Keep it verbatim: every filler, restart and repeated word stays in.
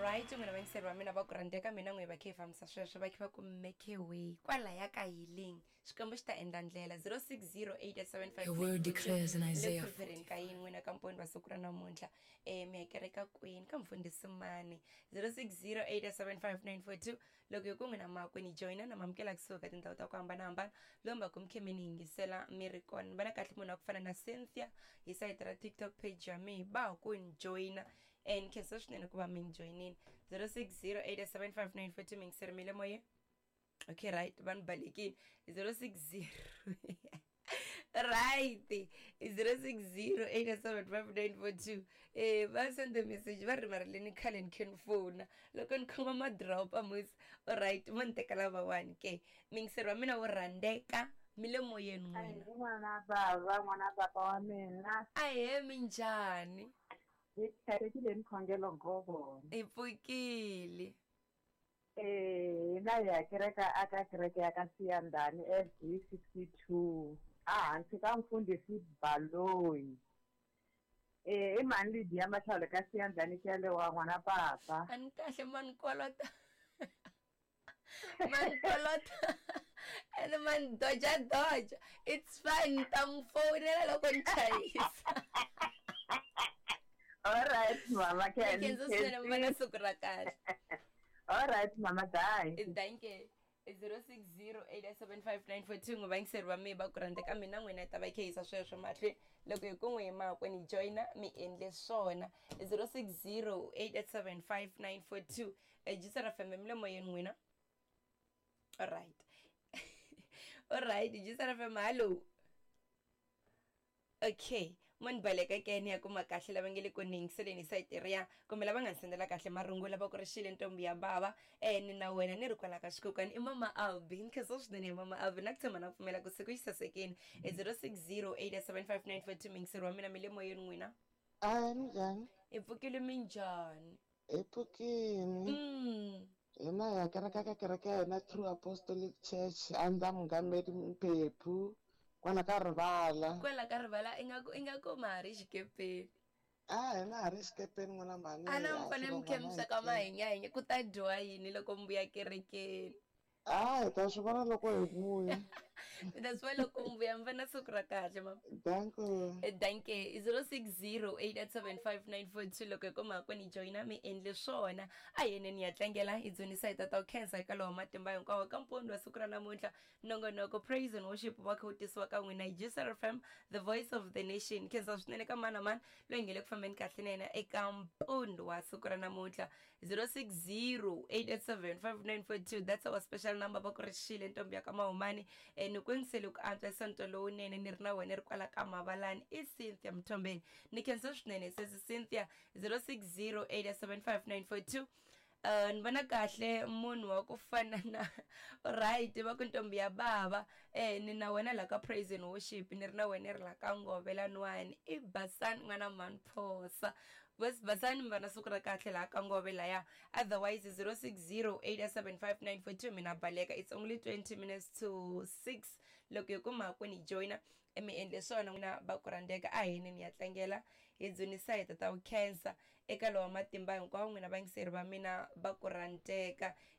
Alright, n'wina vayingiseri va mina va ku rhandzeka, mina n'we va khe hi fambisa sweswo, va khe va ku make way kwalaya ka healing, Xikwembu xi ta endla ndlela. zero six zero eight seven five. Your word declares in Le Isaiah prefereni ka yini n'wina ka mponi va siku ra namuntlha? um mi ya kereka kwini, ka mfundhisi mani? zero six zero eight seven five nine four two. Loko hi ku n'wina makwini joyina na mamukela kusuka ka tindhawu ta ku hambanahambana, lomba ku mi khe mi ni yingisela mi ri kona. Ni vona kahle munhu wa ku fana na Cynthia hi sayiti ra TikTok page ya mehe, ba ha ku ni joyina and khensa swinene ku va mi ni joyinini. zero six zero eight seven five nine four two. Mi yingiseri mi le moyeni. Okay, right, va ni balekile. zero six zero, right, zero six zero eight seven five nine four two. eh va sende message va ri marileni khale ni khe ni fona loko ni khoma madropa musi. Alright, mo ni teka lavawani ke, mingiseri wa mina wo rhandzeka, mi le moyeni n'wina. N'wana bava, n'wana papa wa mina. Ahe, minjhani? Hi tlhatekile ni khongelo ngopfu. Hi pfukile. Eh, hina hi ya kereka aka kereke ya ka Siyandhani F D sixty-two, a hansi ka mfundhisi Baloyi. Eh, i mhani Lydia Matlhalo ka Siyandhani Xelewa, n'wana papa. A ni kahle, ma ni kolota, ma ni kolota ene ma ni doja doja. It's fine, ni ta n'wi fowunela loko ni chayisa. All right, mama Ken. Khensa swinene, mi va na siku ra kahle. All right, mama, bye. Danke. zero six zero eight seven five nine four two. N'wi vayingiseri va mi va ku rhandzeka, mina n'wina hi ta va hi khe yisa sweswo mahlweni. Loko hi ku n'wi hi makwenu joyina, mi endle swona. zero six zero eight seven five nine four two, Jisara F M, mi le moyeni n'wina. Alright, alright, Jisara F M, hallo. Okay, mo ni baleka ke, ni ya kuma kahle lava nge le ku ni yingiseleni hi sayiti riya kumbe lava nga ni sendela kahle marungula. Va ku ri xile ntombi ya bava, um ni na wena ni ri kwala ka xikukwana, i mama Albi. Ni khensa swinene hi mama Albi, na ku tshemba na ku pfumela ku siku xi sasekini. I zero six zero eight seven five nine four two. Mingiseri wa mina, mi le moyeni n'wina. A minjhani? Hi pfukile, minjhani? Hi pfukini. mm. Hina hi ya kereka ka kereke ya hina, True Apostolic Church, under Mungameri Mphephu, kwala ka rivala. Kwala ka rivala, ingaku ingaku ma ha ri xikepeni. A hina ha ri xikepeni, n'wana mhani. A na mi fanele mi khe mi sweka mahinyahinya, ku ta dyiwa yini loko mi vuya kerekeni? A hi ta swi vona loko hi vuya. Mi ta swi vona loko mi vuya. Mi va na siku ra kahle, mama. Danko. Danke. zero six zero eight seven five nine four two. Loko hi kuma ku ni joyina, mi endle swona. A yeneni ya tlangela, hi dzunisa hi tata u khensa eka lowa matimba hinkwawo. Ka mpfundo wa siku ra namuntlha, nongonoko Praise and Worship wa kha wu tisiwa ka n'wina hi J S R F M, the voice of the nation. Khensa swinene ka mani na mani loyi nge le ku fambeni kahle na yena eka mpfundo wa siku ra namuntlha. zero six zero eight seven five nine four two, that's our special number. Va ku ri xile ntombi ya ka mahumani, um ni ku yingisele ku antswa sonto lowunene, ni ri na wena ri kwala ka mavalani, i Cynthia Mthombeni. Ni khensa swinene sesi Cynthia. zero six zero eight seven five nine four two. Uh, ni vona kahle munhu wa ku fana na, right, va ku ntombi ya bava, eh ni na wena la ka Praise and Worship, ni ri na wena ri la ka ngovela nwani, i Basani n'wana mhani Phosa. Basani, mi va na siku ra kahle laha ka ngove laya. Otherwise zero six zero eight seven five nine four two. Mina baleka, it's only twenty minutes to six. Loko hi kuma ku ni joyina, mi endle swona n'wina va ku rhandzeka. A hini ni ya tlangela, hi dzunisa hi tata u khensa eka lowa matimba hinkwawo. N'wina vayingiseri va mina va ku rhandzeka.